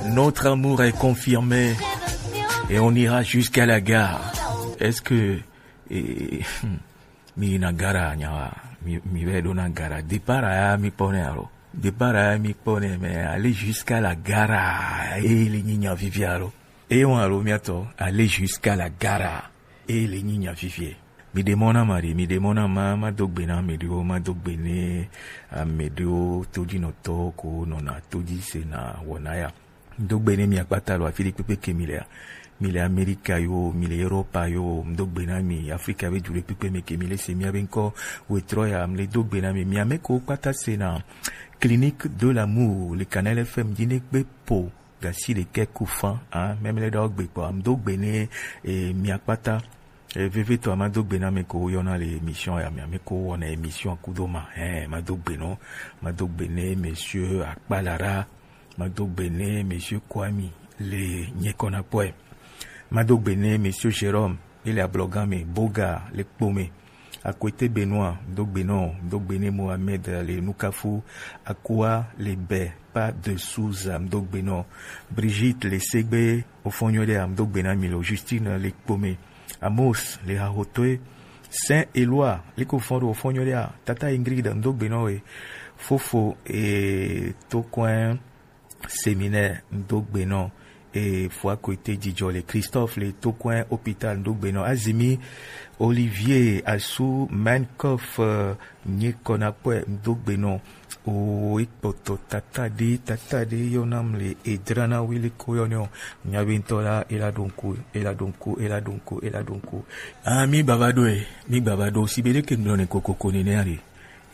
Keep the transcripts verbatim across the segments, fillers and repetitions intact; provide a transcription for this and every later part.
Notre amour est confirmé et on ira jusqu'à la gare. Est-ce que, eh, mi na gara nyawa, mi, mi veut donner gara. Départ à mi pone alo. Départ à mi pone, mais aller jusqu'à la gare. Et les nyinya vivialo. Et on alo miato, aller jusqu'à la gare. Et les nyinya vivie. Mi demona mari, mi demona ma, ma dogbe na mi dio, ma dogbe ne, a mi dio, todi no to, ko no na todi se na wonaya. Mdo gbe ne mi akpata lo afi ɖekpekpe ke mi le a. Mi le Amerika yo, mi le Europa yo, mdo gbe na mi, Afrika be du ɖekpekpe me ke mi le se mi abe ŋkɔ wetrɔ ya, mi le do gbe na mi, mi ame ko kpata se na Clinique de l'amour, le Canal F M dzi ne gbe po gasi ɖekɛ ku fan, hein, même le dɔ gbe kpɔ, mdo gbe ne, eh, mi akpata. Eh, vevitɔ, mado gbe na ame ko woyɔna le émission ya me, ame ko wɔna émission kudo ma. Eh, mado gbe no, mado gbe ne monsieur Akpalara, mado gbe ne monsieur Kwami le Nyekɔnakpɔɛ. Mado gbe ne monsieur Jérôme, ele Ablogan me, Boga le Kpome. Akwete Benoît, mdo gbe no, mdo gbe ne Mohamed le Nukafu, Akua le Bɛ, pas de Souza, mdo gbe no. Brigitte le Segbe, Ofonyo de, mdo gbe na mi lo, Justine le Kpome. Amos le Hahotoe, Saint Eloi, liko fɔn ɖo fɔn nyɔ ɖe a, tata Ingrid ŋdo gbe nɔ we, fofo e tokɔɛ séminaire ŋdo gbe nɔ, e fua koete jijɔ le Christophe le tokɔɛ hôpital ŋdo gbe nɔ, Azimi Olivier asu Mankoff, eh, nye kɔna kpɔɛ ŋdo gbe nɔ. O, ekpɔtɔ tata ɖe, tata ɖe yɔna mle, edrana wele ko yɔ nɛ o. Nya be ŋtɔ la, ela ɖo ŋku, ela ɖo ŋku, ela ɖo ŋku, ela ɖo ŋku. Ah, mi baba ɖo e, mi baba ɖo, si be ɖe ke ŋlɔ ne kokoko nene ale.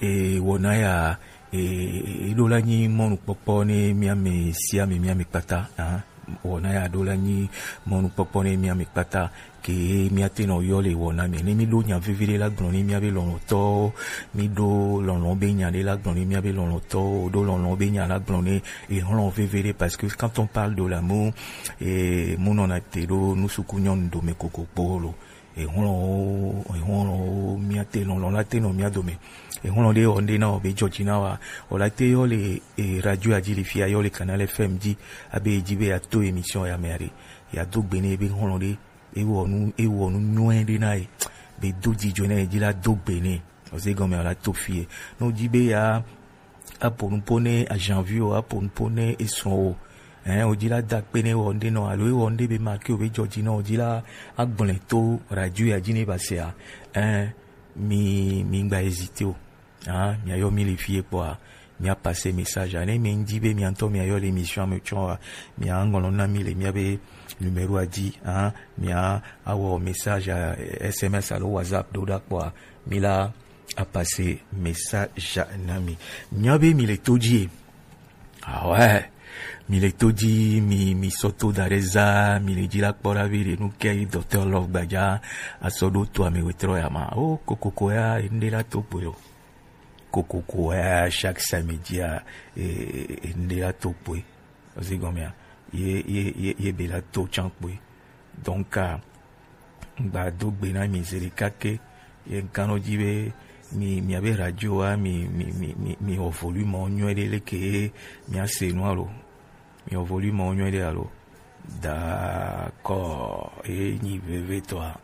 E wɔna ya, e, e ɖo la nyi mɔnukpɔkpɔ ne miame sia mi miame kpata, ah. Wɔna ya ɖo la nyi mɔnukpɔkpɔ ne miame kpata. Ke miate nɔ yɔ le wɔna me. Ne mi ɖo nya veve ɖe la gblɔ ne miabe lɔlɔtɔwo, mi ɖo lɔlɔ be nya ɖe la gblɔ ne miabe lɔlɔtɔwo, ɖo lɔlɔ be nya la gblɔ ne ehlɔ veve ɖe, parce que quand on parle de l'amour, e, mu nɔna te ɖo nusuku nyɔnu dome kokoko lo. Ehlɔwo, ehlɔwo, miate lɔlɔ la te nɔ mia dome. Ehlɔ ɖe wɔ ŋɖe na wɔ be dzɔdzi na wa. O la te yɔ le, e, radio adzi le fia, yɔ le Canal F M dzi, abe edzi be ya to émission ya me aɖe. Ya do gbe ne be hlɔ ɖe. Ewɔ nu, ewɔ nu nyuie ɖe na ye. Be do dzidzɔ na ye dzi la do gbe nɛ. Ose gɔme la to fie. No dzi be ya apo nu po ne ajanvi o, apo nu po ne esrɔ̃ o. Hein, o dzi la da kpe ne wɔ ŋɖe nɔ, alo ewɔ ŋɖe be make o be dzɔ dzi nɔ, o dzi la agblɔe to radio ya dzi ne ba se a. Hein, mi, mi ŋgba hésiter o. Ah, miayɔ mi le fie kpɔa, mia passer message. Ne mi ŋdi be mia ŋutɔ miayɔ le émission me tsɔ wa, mia ŋlɔ na mi le mia be numéro a dzi. Ah, mia awɔ message, eh, S M S alo WhatsApp ɖo ɖa kpɔa, mi la a passer message na mi. Mia be mi le to dzi. Ah ouais. Mi le to dzi, mi, mi sɔ to da ɖe za, mi le dzi la kpɔ ɖa be ɖe nu ke yi docteur Love gbadza asɔ ɖo to ame wetrɔ ya ma. O kokoko ya, ŋɖe la to kpoe o. Kokoko ya, chaque samedi ya, e, e, ŋɖe la to kpoe. Ozi gɔme ya. Ye, ye, ye, ye be la to tsan kpoe. Donc, ah, ŋgba do gbe na mi zeɖeka ke. Ye ŋkanɔ dzi be mi, miabe radio wa, mi, mi, mi, mi, mi wɔ volume wo nyuie ɖe leke ye mia se nua lo. Mi wɔ volume wo nyuie ɖe alo. D'accord. Ye nyi veve tɔa.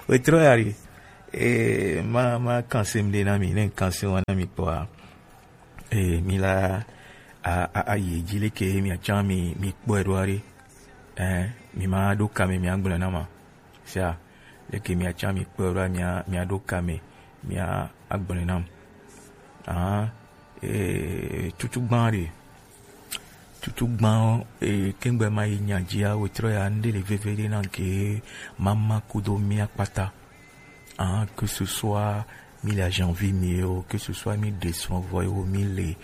Wetrɔ ya ɖi. E, ma, ma kanse ŋɖe na mi, ne kanse wa na mi kpɔa. E, mi la, a, a, a yi dzi leke mia tsa mi, mi kpɔe ɖo aɖe. Eh, mi ma ɖo kame mia gblɔ na ma. Sia, leke mia tsa mi kpɔe ɖo mia, mia ɖo kame mia agblɔ nam. Ah, e, tutu gban ɖe. Tutu gban, e, kengbe ma yi nya dzia, wetrɔ ya ŋɖe le veve ɖe na ke mama kudo mia kpata. Ah, que ce soit mi le ajanvi mi o, que ce soit mi ɖe srɔ̃ vɔ o, mi le,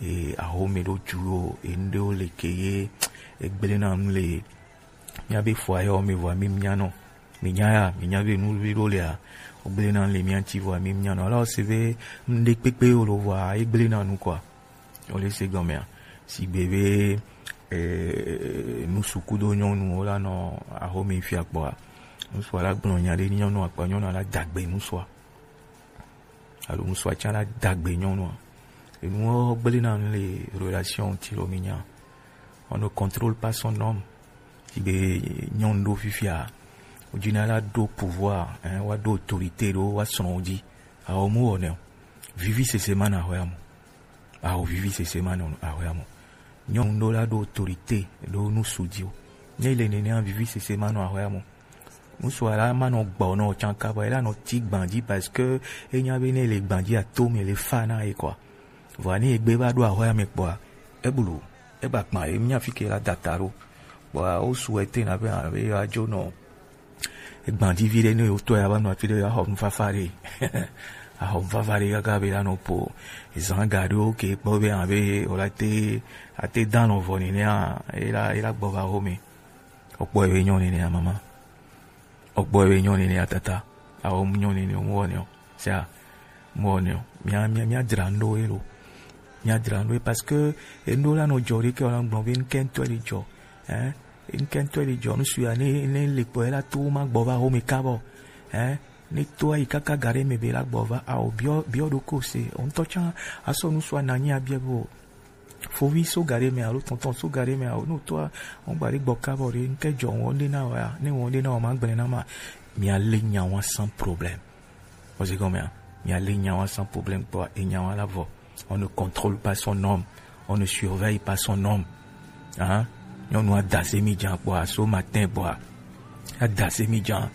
e, ahome ɖo ju o, e, ŋɖewo le ke ye, egblẽ na nu le, mia be fɔ ayɔ me vɔ mi mia nɔ. Mi nya ya, mi nya be nu ɖo le a, ogblẽ na le mia ŋti vɔ mi mia nɔ. Alors, c'est ve, ŋɖe kpekpe o lo vɔ, egblẽ na nu quoi. Wole se gɔmea. Sigbe be, eh, nusu kudo nyɔnu wo la nɔ ahome fia kpɔa. Nusua la gblɔ nya ɖe nyɔnu akpa nyɔnu la dagbe nusua. Alo nusua tsa la dagbe nyɔnua. Enuwo gblẽ na nu le relation ti lo mi nya. On ne contrôle pas son homme. Sigbe nyɔnu ɖo fifia, wodina la ɖo pouvoir, hein, woaɖo autorité ɖo woasrɔ̃wo dzi. Ao mu wɔ nɛ o. Vivi sese ma nɔ ahɔya mo. Ao vivi sese ma nɔ ahɔya mo. Nyɔnu ɖo la ɖo autorité ɖo ŋsu dzi o. Ne le nenea, vivi sese ma nɔ ahɔya mo. Ŋsu ala ma nɔ gbɔ nɔ tsanka bɔ ela nɔ ti gban dzi parce que enya be ne le gban dzi ato me le fa na ye quoi. Vɔa ne egbe va ɖo ahɔya me kpɔa, eblu, eba kpa ye nya fi ke la data ɖo. Kpɔa wo su ete na be abe ya dzo nɔ. Egban dzi vi ɖe ne wo tɔ ya va nɔ afi ɖe ya xɔ nufafa ɖe. Axɔ nufafa ɖe kaka be la nɔ po. Ezan ga ɖewo ke kpɔ be abe o la te, ate dan nɔ vɔ nenea, ela, ela gbɔ va xɔ me. Okpɔ ebe nyɔ nenea mama. Okpɔ ebe nyɔ nenea tata. Ao mu nyɔ nenea mu wɔ ne o. Sia, mu wɔ ne o. Mia, mia, mia dzra ŋɖo ye lo. Mia dzra ŋɖo ye parce que ŋɖo la nɔ dzɔ ɖe ke wala gblɔ be ŋkɛntɔ le dzɔ. Hein? Ŋkɛntɔ le dzɔ. Ŋsu ya ne, ne le kpɔ ye la to ma gbɔ va xɔ me kabɔ. Hein? Ne to ayi kaka ga ɖe me be la gbɔ va. Ao biɔ, biɔ ɖo ko se. O ŋtɔ tsa, asɔ ŋsu ananyi abia bo. Fovi so ga ɖe me alo tɔntɔn so ga ɖe me alo, ne wotɔa, wọn gba ɖe gbɔ kabɔ ɖe, ŋke dzɔ ŋwɔ ɖe na wa, ne ŋwɔ ɖe na wa ma gblẽ na ma, mia le nya wa sans problème. Ozi gɔmea, mia le nya wa sans problème kpɔ, e nya wa la vɔ. On ne contrôle pas son homme, on ne surveille pas son homme. Hein? Nyɔnu adase mi dza kpɔ, aso matin kpɔa. Adase mi dza.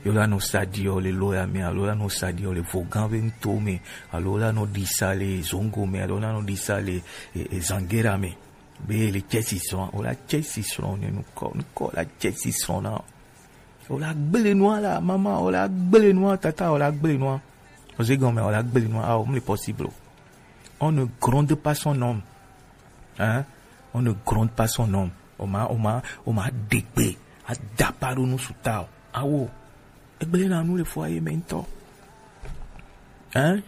Yo la nɔ sadi o le lo ya me, alo la nɔ sadi o le vogan be ŋto me, alo la nɔ ɖisa le zongo me, alo la nɔ ɖisa le e, e, zangera me. Be le tsɛsi srɔ̃, o la tsɛsi srɔ̃ ne nukɔ, nukɔ la tsɛsi srɔ̃ na. O la gblẽ nua la, mama, o la gblẽ nua, tata, o la gblẽ nua. O se gɔme, o la gblẽ nua, ah, o mle possible. On ne gronde pas son homme. Hein? On ne gronde pas son homme. O ma, o ma, o ma ɖe gbe, a dapa ɖo ŋsu ta o. Awo. Egblẽ na nu le foyer me ŋtɔ. Hein?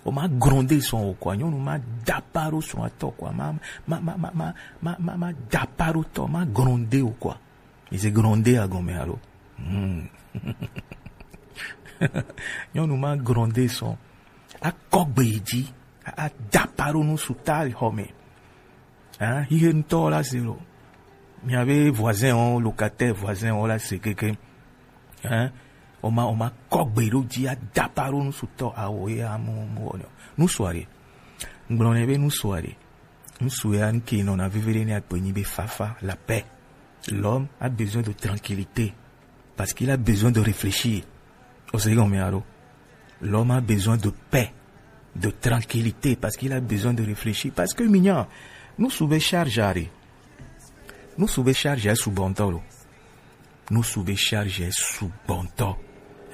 O ma gronde sɔn o quoi. Nyɔnu ma dapa ɖo srɔ̃a tɔ quoi. Ma, ma, ma dapa ɖo tɔ. Ma gronde o quoi. Mi se gronde a gɔme alo? Hmm. Nyɔnu ma gronde sɔn. Akɔ gbe yi dzi. A, a dapa ɖo ŋsu ta le xɔ me. Hein, hihe ŋtɔ la se lo. Miabe voisin o, locataire voisin o la se keke. Hein, o ma, o ma kɔ gbe ɖo dzi a dapa ɖo ŋsu tɔ awo ye amu mu wɔ nɔ. Ŋsu aɖe. Ŋgblɔ ne be ŋsu aɖe. Ŋsu ya ŋke nɔ na veve ɖe ne akpe nyi be fafa, la paix. L'homme a besoin de tranquillité. Parce qu'il a besoin de réfléchir. O se gɔme alo? L'homme a besoin de paix, de tranquillité, parce qu'il a besoin de réfléchir. Parce que minya, ŋsu be charge are. Ŋsu be charge a sugbɔ ŋtɔ lo. Ŋsu be charge a sugbɔ ŋtɔ.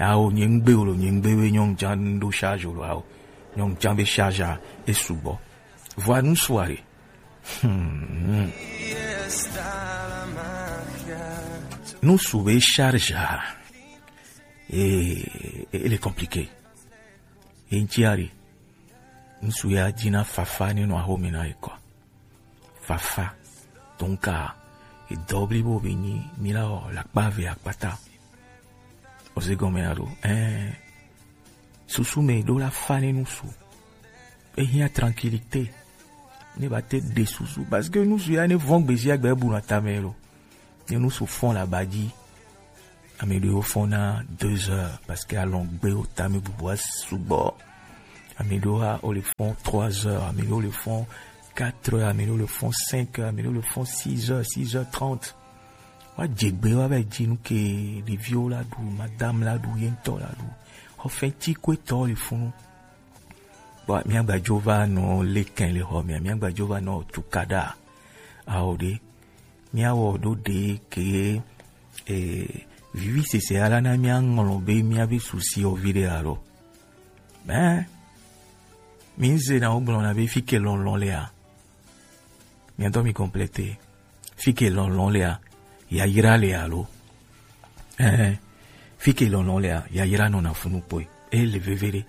Ao, nye ŋgbe o lo, nye ŋgbe be nyɔnu dza ɖo charge o lo, ao. Nyɔnu dza be charge a e sugbɔ. Vɔa ŋsu are. Hmm. Ŋsu be charge a. Eh, eh, il est compliqué. Ye ŋtsi ari. Ŋsu ya dzina fafa ne nɔ axome na ye kɔ. Fafa. Donc, edɔ blibo be nyi, mi la wɔ, la kpa ve akpata. O se gɔme alo? Eh. Susu me ɖo la fa ne ŋsu. Ehiã tranquillité. Ne ba te ɖe susu. Parce que ŋsu ya ne vɔn gbezia gbe bu na tame lo. Ne ŋsu fɔn la ba dzi. Ame ɖewo fɔn na deux heures parce que alɔgbewo tame bubua sugbɔ. Ame ɖewo hã wo le fɔn trois heures, ame ɖewo le fɔn quatre heures, ame ɖewo le fɔn cinq heures, ame ɖewo le fɔn six heures, six heures trente. Wa dze gbe wa va dzi nu ke ɖeviwo la ɖu, madame la ɖu, ye ŋtɔ la ɖu. Xɔ fɛn tsi ko etɔ le funu. Bon, mia gba dzo va nɔ le kɛn le xɔ mea, mia gba dzo va nɔ tukaɖa. Ao ɖe, mia wɔ ɖo ɖe ke, eh, vivi sese ala na mia ŋlɔ be mia be susi o vi ɖe alo. Ben, mi ze na wo gblɔ na be fi ke lɔlɔ le a. Mia dɔ mi compléter. Fi ke lɔlɔ le a, yayra le alo. Eh, fi ke lɔlɔ le a, yayra nɔ na funu kpɔe. E le veve ɖe.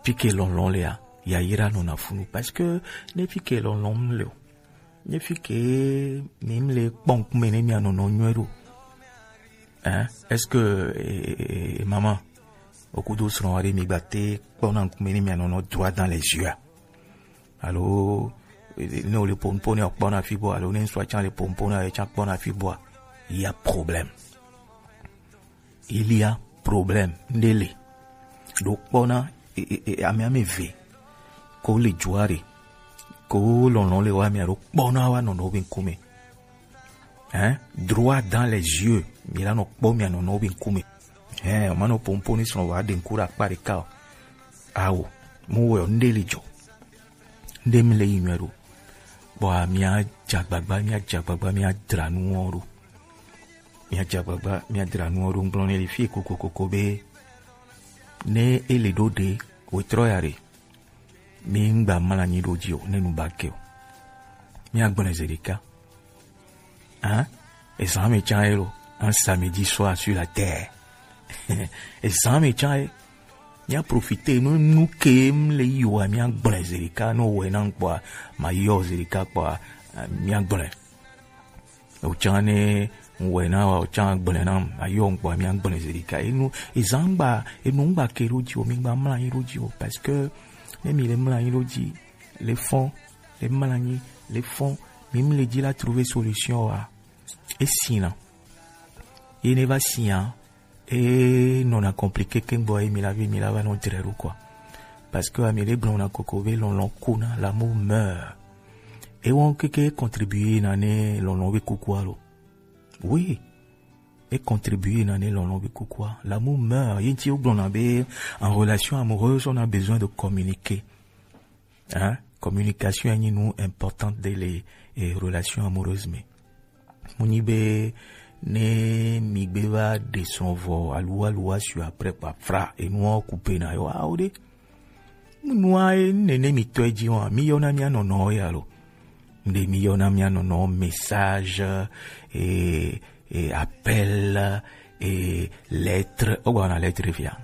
Fi ke lɔlɔ le a, yayra nɔ na funu. Parce que ne fi ke lɔlɔ mu le o. Ne fi ke mi mu le kpɔ ŋkume ne mia nɔnɔ nyuie ɖo. Hein? Est-ce que, eh, eh, eh, maman, okudo srɔ̃ aɖe mi gba te kpɔ na ŋkume ne mia nɔnɔ droit dans les yeux a? Alo, Ne wole pompo ne wokpɔna fi bɔ alo ne ŋsua can le pompo na ye can kpɔna fi bɔa, il y a problème. Il y a problème. Nde le. Do kpɔna e, e, e, ame ame ve. Ko le juare. Ko lɔlɔ le wa mi alo kpɔna wa nɔnɔ be ŋkume. Hein? Droit dans les yeux. Mi la nɔ kpɔ mi nɔnɔ be ŋkume. Hein, o ma nɔ pompo ni sɔn wa de ŋku ɖe akpa ɖeka o. Awo, mu wɔ nde le jɔ. Nde mi le yi nyuɛ ɖo. Bɔa mi a dza gbagba, mi a dza gbagba, mi a dra nuwo ɖo. Mi a dza gbagba, mi a dra nuwo ɖo. Ŋgblɔ ne le fie kokokoko be ne ele ɖo ɖe, wetrɔ ya ɖe. Mi ŋgba mla nyi ɖo dzi o, ne nu ba ke o. Mi a gblɔe ze ɖeka. Hein? Ezan mi can ye lo. Un samedi soir sur la terre. Ezan mi can ye. Mi a profiter nu nu ke mi le yi wa mi a gblɔe ze ɖeka no wɔ na ŋkpɔa ma yɔ ze ɖeka kpɔa mi a gblɔe. O can ne wɔ na wa o can gblɔe na ma yɔ ŋkpɔa mi a gblɔe ze ɖeka. Enu ezan ŋgba enu ŋgba ke ɖo dzi o mi ŋgba mla nyi ɖo dzi o parce que ne mi le mla nyi ɖo dzi le fɔn le mla nyi le fɔn mi mi le dzi la trouver solution wa. Esina. Ye ne va sia e nɔna compliqué ke gbɔ ye mi la vi mi la va nɔ dre ɖo quoi. Parce que ami ɖe gblɔ na koko be lɔlɔ kuna l'amour meurt. E wɔn keke contribuer na ne lɔlɔ be kuku alo. Oui. E contribuer na ne lɔlɔ be kuku a. L'amour meurt. Ye ti o gblɔ na be en relation amoureuse on a besoin de communiquer. Hein? Communication est une importante de les eh, relations amoureuses mais mu nyi be ne mi gbe va ɖe srɔ̃ vɔ aluwa aluwa su après kpa fra enua ku pe na yɔ awo ɖe nua ye nene mi tɔ edzi wa mi yɔ na mia nɔnɔ ya lo. Nde mi yɔ na mia nɔnɔ message et, et appel et lettre. Ogba na lettre fia.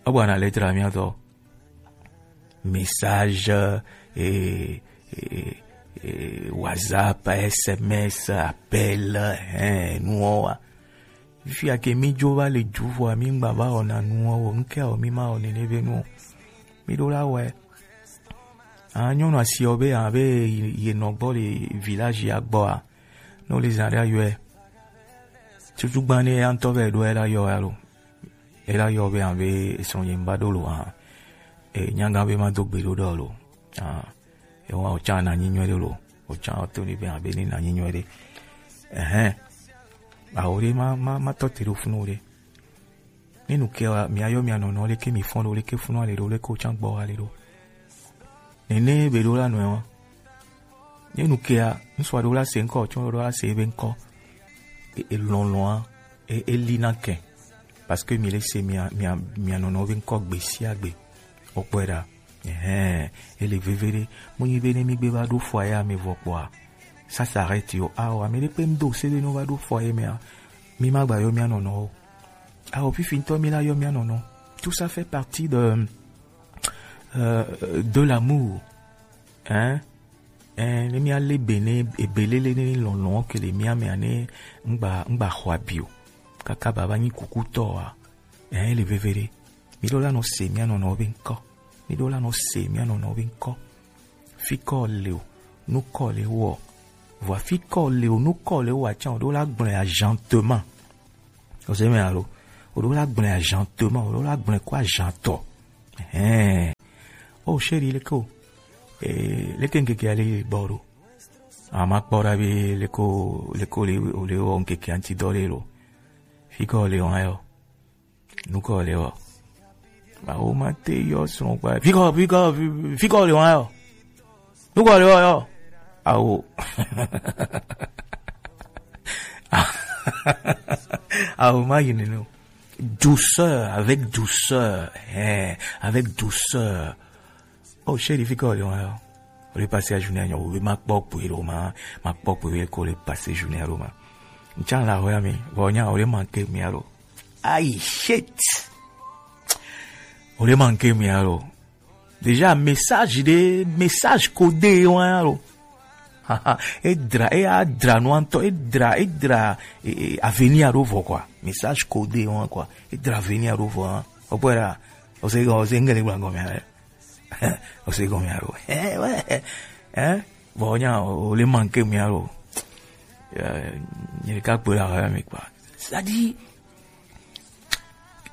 Ogba na lettre amia tɔ. Message, eh, eh, eh, WhatsApp, S M S, appel, hein, nuwo wa. Fia ke mi dzo va le dzu vɔa mi ŋgba va wɔna nuwo o, ŋkɛ o mi ma wɔ nene be nu o. Mi ɖo la wɔe. Ah, nyɔnu asiɔ be abe ye nɔ gbɔ le village ya gbɔa. No le zan ɖe ayɔe. Tutu gban ne ya ŋutɔ vɛ ɖo ela yɔ ya lo. Ela yɔ be abe esrɔ̃ ye ŋba ɖo lo hã. E nyaga be ma do gbe ɖo ɖɔ lo. Ah. Ewa o can na nyi nyuie ɖe lo. O can o to ni be abe ni na nyi nyuie ɖe. Ɛhɛn. Awo ɖe ma ma ma tɔ te ɖo funu ɖe. Ne nu ke wa mi ayɔ mi anɔnɔ leke mi fɔn ɖo leke funu ale ɖo leke o can gbɔ ale ɖo. Nene be ɖo la nɔe wa. Ne nu kea, ŋsua ɖo la se ŋkɔ, tsɔ ɖo la se ebe ŋkɔ. E, e lɔlɔa, e, e li na kɛ. Parce que mi le se mia, mia, mia nɔnɔ be ŋkɔ gbe sia gbe. O kpɔe ɖa. Ɛhɛn, e le veve ɖe. Mu nyi be ne mi gbe va ɖo fɔ ya me vɔ kpɔa. Ça s'arrête yo. Awo, ame ɖe kpe ŋdo se be no va ɖo fɔ ye mea. Mi ma gba yɔ mia nɔnɔ o. Awo, fifi ŋtɔ mi la yɔ mia nɔnɔ. Tout ça fait partie de, euh, de l'amour. Hein? Hein, ne mia le be ne, ebe lele ne lɔlɔ ke le mia mea ne ŋgba, ŋgba xɔ abi o. Kaka baba nyi kukutɔ wa. Hein, le veve ɖe. Mi ɖo la nɔ se mia nɔnɔ be ŋkɔ. Mi ɖo la nɔ se mia nɔnɔ be ŋkɔ. Fi kɔ le o, nu kɔ le wɔ. Vɔ fi kɔ le o, nu kɔ le wɔ atsa o ɖo la gblɔe agentement. O se mɛ alo? O ɖo la gblɔe agentement, o ɖo la gblɔe ko agentɔ. Ɛhɛn. O chéri leke o. Eh, leke ŋkeke ale gbɔ ɖo. Ama kpɔ ɖa be leke o, leke o le, o le wɔ ŋkeke anti dɔ le lo. Fi kɔ le o ayɔ. Nu kɔ le wɔ. Awo ma te yɔ srɔ̃ kpa. Fi kɔ, fi kɔ, fi, fi kɔ le wɔ yɔ. Nu kɔ le wɔ yɔ. Awo. Awo ma yi nene o. Douceur, avec douceur. Hein, avec douceur. Oh, chéri, fi kɔ le wɔ yɔ. O le passer la journée, o le ma kpɔ kpui lo ma, ma kpɔ kpui ko le passer journée lo ma. Ntsan la hoya mi, vɔ nya o le manquer mi alo. Aïe, shit. O le manquer mi alo. Déjà, message de, message codé, wa alo. Haha, e dra, e a dra no anto, e dra, e dra, e, e, avenir alo vɔ, quoi. Message codé, wa, quoi. E dra avenir alo vɔ, hein. O pwera, o se, o se ngele blanco, mi ale. O se gɔme alo? Eh, ouais. Hein? Bon, nya, o le manquer mi alo. Euh, nye ɖeka kpe ɖe ahɔya me kpa. C'est-à-dire,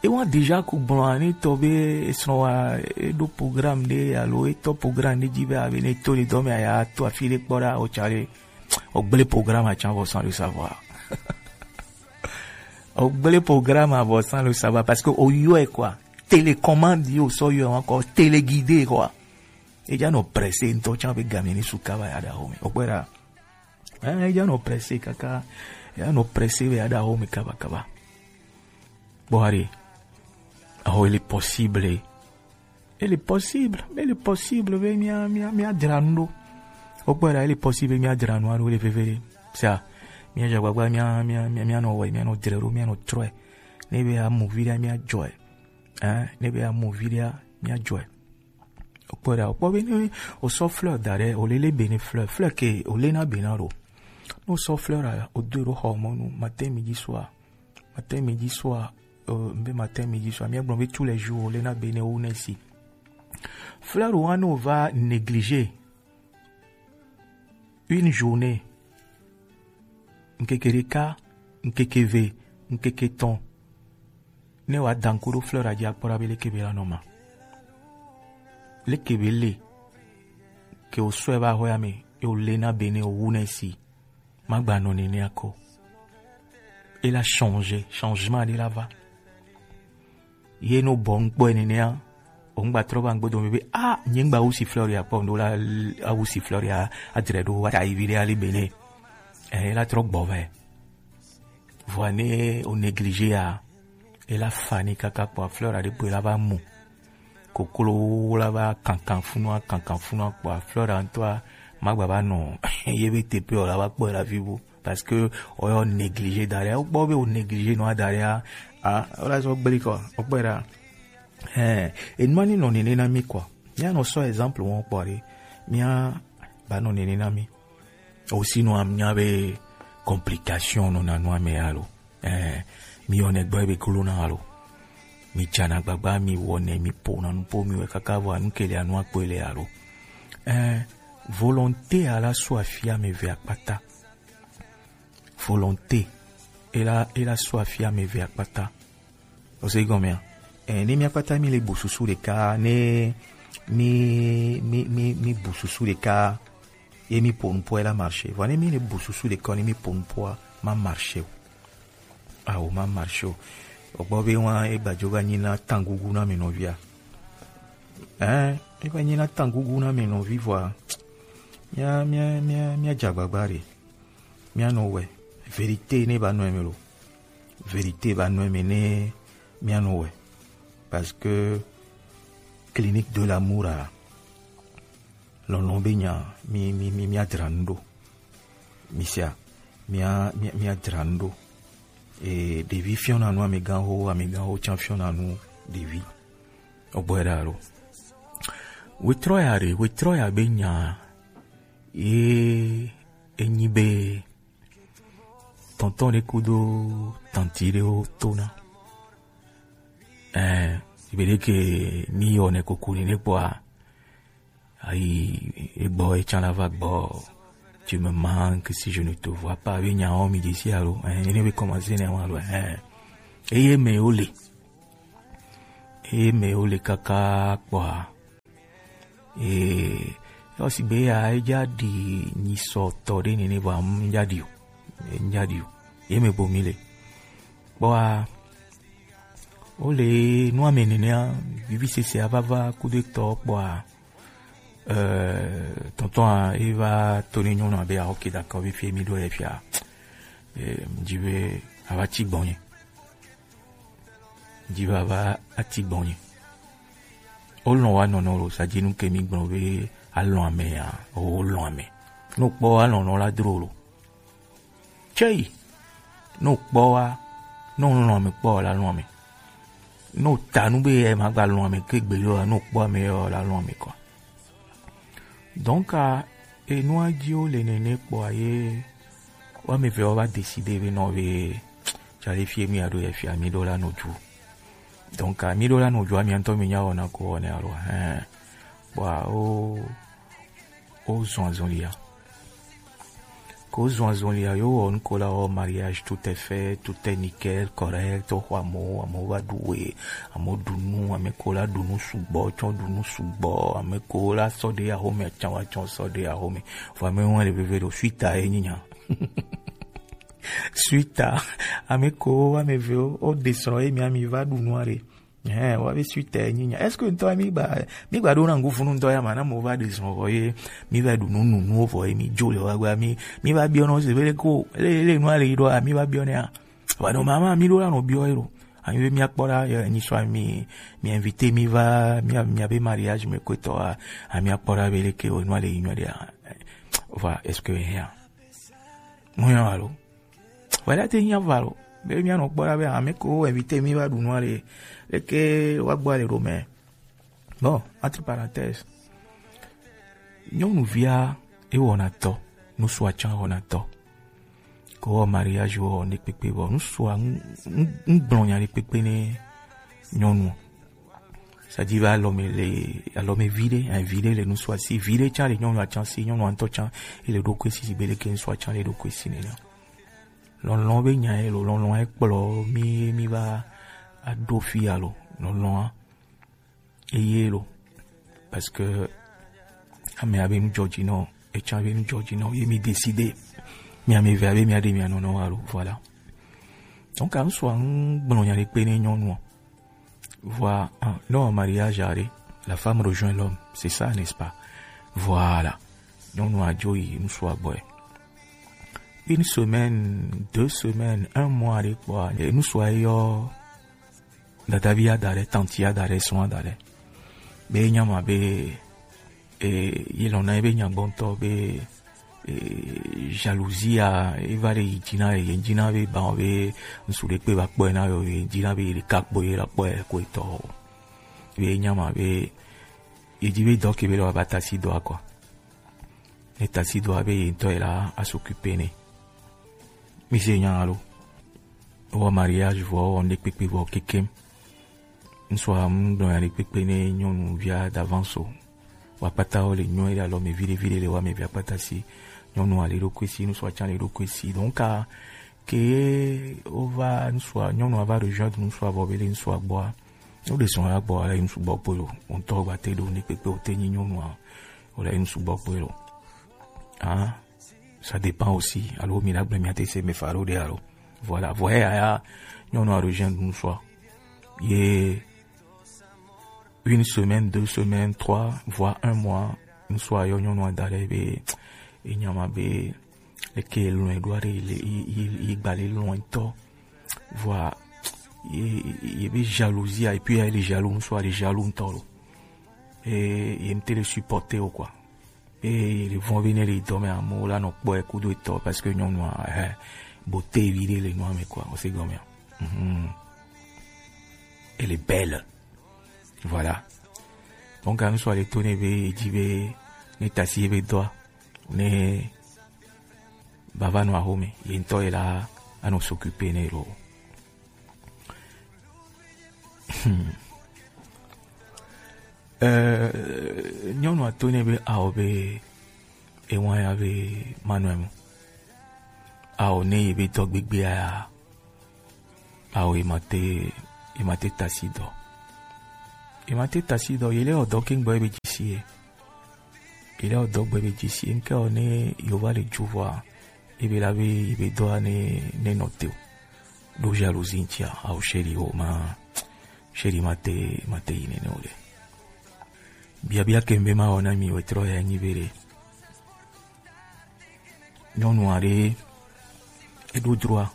e wa déjà ku gblɔ ne tɔ be esrɔ̃ wa, eɖo programme ɖe alo etɔ programme ɖe dzi be abe ne to le dɔ me aya to afi ɖe kpɔ ɖa, o tsa ɖe, o gblẽ programme atsa vɔ sans le savoir. O gblẽ programme avɔ sans le savoir parce que o yɔe quoi. Télécommande yo sɔ yɔe encore, téléguidé quoi. E dza nɔ pressé ŋutɔ tsã be game ni su kaba ya ɖa home. O kpɔe ɖa. Eh, e dza nɔ pressé kaka, e dza nɔ pressé be ya ɖa home kaba kaba. Kpɔ ɖe. Oh, il est possible. Il est possible, il est possible be mía, mía, mía dzra nu ɖo. O kpɔe ɖa, il est possible be mía dzra nu aɖo le veve ɖe. Ça, mía dze agbagba mía, mía, mía, mía nɔ wɔe, mía nɔ dzre ɖo, mía nɔ trɔe. Ne be amu vi ɖe mía dzɔe. Hein, ne be amu vi ɖe mía dzɔe. O kpɔe ɖa, o kpɔ be ne o sɔ fleur da ɖe, o lele be ne fleur, fleur ke o le na be na ɖo. Ne o sɔ fleur ɖa, o do ɖo xɔ mɔnu, matin, midi, soir. Matin, midi, soir, euh, mbe matin, midi, soir. Mía gblɔ be tous les jours, le na be ne wo ne si. Fleur wa no va négliger une journée. Ŋkeke ɖeka, ŋkeke ve, ŋkeke etɔ̃. Ne wa danko ɖo fleur adzi akpɔ ɖa be leke be la nɔ ma. Leke be le. Ke o sɔe va xɔ ya me, e o le na be ne o wu ne si. Magba nɔ nenea ko. E la changer, changement ɖe la va. Ye no bɔ ŋkpɔe nenea, o ŋgba trɔ va ŋgbo dome be, ah, nye ŋgba wusi fleur ya kpɔ, ndo la, awusi fleur ya, adre ɖo, wa ta yi vi ɖe ali bene. Eh, e la trɔ gbɔ vɛ. Vɔa ne o négliger ya, e la fa ni kaka kpɔ fleur aɖe kpɔe la va mu. Koklo la va kankan funua, kankan funua kpɔa, fleur ŋutɔa, magba va nɔ ye be teƒe o la va kpɔe la vivo. Parce que o yɔ négliger da ɖe, o kpɔ be o négliger nɔa da ɖe, a, o la zɔ gbeli kɔ, o kpɔe ɖa. Hein, enua ni nɔ nene na mi kɔ. Mía nɔ sɔ exemple wɔn kpɔ ɖe. Mía ba nɔ nene na mi. O si nɔ amia be complication nɔ na nua me alo. Eh, mi yɔ ne gbɔ be klo na alo. Mi tsana gbagba, mi wɔ ne, mi po na nu po mi wɛ kaka vɔ anu kele anu akpɔ le alo. Eh, volonté ala so afia me ve akpata. Volonté. Ela, ela so afia me ve akpata. O se gɔmea? Eh, ne mi akpata mi le bu susu ɖeka, ne mi, mi, mi, mi bu susu ɖeka, ye mi po nupɔ ela marché. Vɔ ne mi le bu susu ɖeka, ne mi po nupɔa, ma marché o. Awo, ma marché o. O gbɔ be wa e gbadzo va nyi na tangugu na mi nɔvia. Eh, e va nyi na tangugu na mi nɔvi vɔa. Mia, mia, mia, mia dza gbagba ɖe. Mía nɔ wɛ. Vérité ne ba nɔ eme lo. Vérité ba nɔ eme ne mía nɔ wɛ. Parce que clinique de l'amour a, lɔlɔn be nya, mi, mi, mi, mía dzra nu ɖo. Mi sia, mía, mía, mía dzra nu ɖo. E, ɖevi fiɔna nu amegãwo, amegãwo tsã fiɔna nu ɖevi. O gbɔe ɖa lo. Wetrɔ ya ɖe, wetrɔ ya be nya, ye enyi be tɔntɔn ɖe kudo tanti ɖewo tona. Eh, be ɖe ke mi yɔ ne koko ni ne kpɔa, ayi, egbɔ, etsã la va gbɔ. Tu me manques si je ne te vois pas. Be nya wo mi desi alo. Eh, ne be commencer ne wa lo. Eh. Eye me ole. Eye me ole kaka kpɔa. Ee, yɔ sigbe ya, edza ɖi nyisɔtɔ ɖe nene vɔa, ŋdza ɖi o. Ŋdza ɖi o. Ye me bo mi le. Kpɔa, wole nua me nenea, vivisese avava kudo etɔ kpɔa, euh, tɔntɔn a, eva to ne nyɔnu abe, ah, ok, d'accord, vi fie mi ɖo le fia. Eh, ŋdzi be ava tsi gbɔnye. Ŋdzi be ava atsi gbɔnye. Wolɔ̃ wa nɔnɔ lo, sa dzi nu ke mi gblɔ be alɔ̃ ame ya, o, wolɔ̃ ame. Ne wokpɔ alɔ̃ nɔ la dro lo. Tsei. Ne wokpɔ wa, ne wolɔ̃ ame kpɔ la lɔ̃ ame. Ne wota nu be ye magba lɔ̃ ame ke gbe yo, ne wokpɔ ame yo la lɔ̃ ame kɔ. Donc, ah, enua dzi wo le nene kpɔa ye, wo ame eve wo va décider be nɔ be, tsale fie mi aɖo ye fia mi ɖo la nɔ dzu. Donc, ah, mi ɖo la nɔ dzu, ami ŋutɔ mi nya wɔna ko wɔnɛ alo, hein. kpɔa, o, o zɔn azɔlia. Ko zɔn azɔlia, yo wɔ nuko la wɔ mariage, tout est fait, tout est nickel, correct, o xɔ amewo, amewo va ɖu we, amewo ɖu nu, ame ko la ɖu nu sugbɔ, tsɔ ɖu nu sugbɔ, ame ko la sɔ ɖe axome, atsã wa tsɔ sɔ ɖe axome. Vɔ ame wa le veve ɖo suite a ye nyi nya. Suite a, ame ko wa ame ve o, o descend ye mi ami va ɖu nu are. Eh, wa be suite a ye nyi nya. Est-ce que ntɔ mi gba, mi gba ɖo na ŋku funu ntɔ ya ma na mo va descend vɔ ye, mi va ɖu nu nu nu vɔ ye mi jo le wa gba mi, mi va biɔ no se be ko, le, le nu ale yi ɖo a, mi va biɔ ne a. Wa no mama mi ɖo la no biɔ ye ɖo. Anyi be mi akpɔ ɖa, ye nyi sɔ mi, mi invité mi va, mi, mi abe mariage me ko tɔ a, a mi akpɔ ɖa be le ke o nu ale yi nyɔ ɖe a. Voilà, est-ce que, hein? Mo yɔ alo. Voilà, te nya va lo. Be mi anɔ kpɔ ɖa be ame ko invité mi va ɖu nu ale. Le ke wa gbɔ ale ɖo mɛ. Bon, entre parenthèses. Nyɔnuvia e wɔna tɔ, nusua tsã wɔna tɔ. Ko wɔ mariage wɔ ne kpekpe vɔ, nusua n, n, n gblɔ nya ɖe kpekpe ne nyɔnu. C'est-à-dire va alɔme le, alɔme viɖe, hein, viɖe le nusua si, viɖe tsã le nyɔnua tsã si, nyɔnua ŋutɔ tsã, ele ɖokui si, si be leke nusua tsã le ɖokui si nena. Lɔlɔ̃ be nya ye lo, lɔlɔ̃ e kplɔ mi, mi va aɖo fi alo, lɔlɔ̃a eye lo. Parce que ame abe nu dzɔdzi nɔ, etsã be nu dzɔdzi nɔ, ye mi décider. Mi ame ve abe mi aɖe mi anɔ nɔ alo, voilà. Donc, anu sua ŋu gblɔ nya ɖe kpe ne nyɔnua. Voilà, ah, non, mariage are, la femme rejoint l'homme, c'est ça, n'est-ce pas? Voilà. Nyɔnua dzo yi ŋutsua gbɔe. Une semaine, deux semaines, un mois ɖe kpɔa, e, ŋutsua yɔ dadavi ada ɖe, tanti ada ɖe, srɔ̃ ada ɖe. Be nya ma be, e, yi lɔna ebe nya gbɔntɔ be, e, jalousie a, eva ɖe yi dzina, yi dzina be ba be ŋutsu ɖe kpe va kpɔe na yo, yi dzina be yi ɖeka kpɔ yi la kpɔe ko etɔ o. Be nya ma be, yi dzi be dɔ ke be le wa ba tasi dɔa kɔ. Ne tasi dɔa be yi ŋutɔ yi la a s'occuper ne. Mi se nya alo. Wɔ mariage vɔ, wɔ ŋɖe kpekpe vɔ kekem. Ŋutsua ŋgblɔ nya ɖe kpekpe ne nyɔnuvia d'avance o. Wa kpata wo le nyɔ ye alɔ me viɖe viɖe le wa me via kpata si. Nyɔnua le ɖokui si, ŋutsua tsã le ɖokui si. Donc, a, ke wova ŋutsua, nyɔnua va rejoindre ŋutsua vɔ be le ŋutsua gbɔa. Wo ɖe srɔ̃ la gbɔa, le ŋutsu gbɔ kpoe lo. Wo ŋutɔ gba te ɖo ŋɖe kpekpe o te nyi nyɔnua. Wo le ŋutsu gbɔ kpoe lo. Ah, ça dépend aussi. Alo mi la gblẽ mi ate se me fa ɖo ɖe alo. Voilà, voyez ya, nyɔnua rejoindre ŋutsua. Ye une semaine, deux semaines, trois, voire un mois, ŋutsua yɔ nyɔnua da ɖe be, e nya ma be, eke lɔ̃e ɖo aɖe le, yi, yi, yi gba le lɔ̃e ŋutɔ. Voilà, ye, ye be jalousie, et puis ye le jaloux, ŋutsua le jaloux ŋutɔ lo. Et ye ŋute le supporter o quoi. Eye le vɔ̃ be ne le dɔ me amewo la nɔ kpɔe kudo etɔ parce que nyɔnua, eh, beauté viɖe le nua me quoi, o se gɔmea. Mhm. Elle est belle. Voilà. Donc, anu sɔ le to ne be, edzi be, ne tasi ebe dɔa, ne bava nɔ axome, ye ŋutɔ ye la, anɔ s'occuper ne lo. Hmm. Euh, nyɔnua to nɛ be ao be ewa ya be manɔe mo. Ao ne ye be dɔ gbegbea ya. Ao ye ma te, ye ma te tasi dɔ. Ye ma te tasi dɔ, ye le ɔ dɔ ke ŋgbɔ ye be dzisi ye. Ye le ɔ dɔ gbe be dzisi ye. Ŋke ɔ ne yo va le ju vɔa, ye be la be, ye be dɔa ne, ne nɔ te o. Ɖo jalousie ŋutia, ao chéri o ma, chéri ma te, ma te yi nene o le. Biabia ke ŋbe ma wɔ na mi wetrɔ ya nyi be ɖe. Nyɔnu aɖe, eɖo droit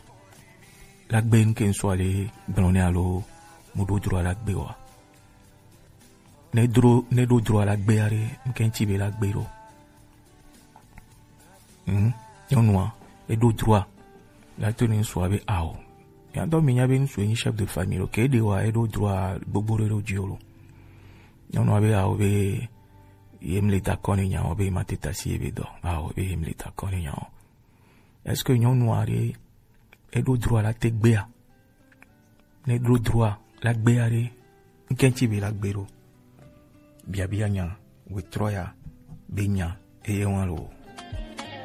la gbe ŋke ŋsɔ aɖe gblɔ nɛ alo mu ɖo droit la gbe wa. Ne dro, ne ɖo droit la gbe aɖe, ŋke ŋti be la gbe ɖo. Hmm? Nyɔnua, eɖo droit la to ne ŋsua be ao. Ya dɔ mi nya be ŋsu enyi chef de famille lo, ke ɖe wa eɖo droit gbogbo ɖe ɖo dzi o lo. Nyɔnua be ao be ye mle d'accord ne nya o, be ma te tasi ye be dɔ. Ao be ye mle d'accord ne nya o. Est-ce que nyɔnu aɖe eɖo droit la te gbea? Ne ɖo droit la gbea ɖe, ŋke ŋti be la gbe ɖo? Biabia nya. Wetrɔ ya be nya eye wan lo.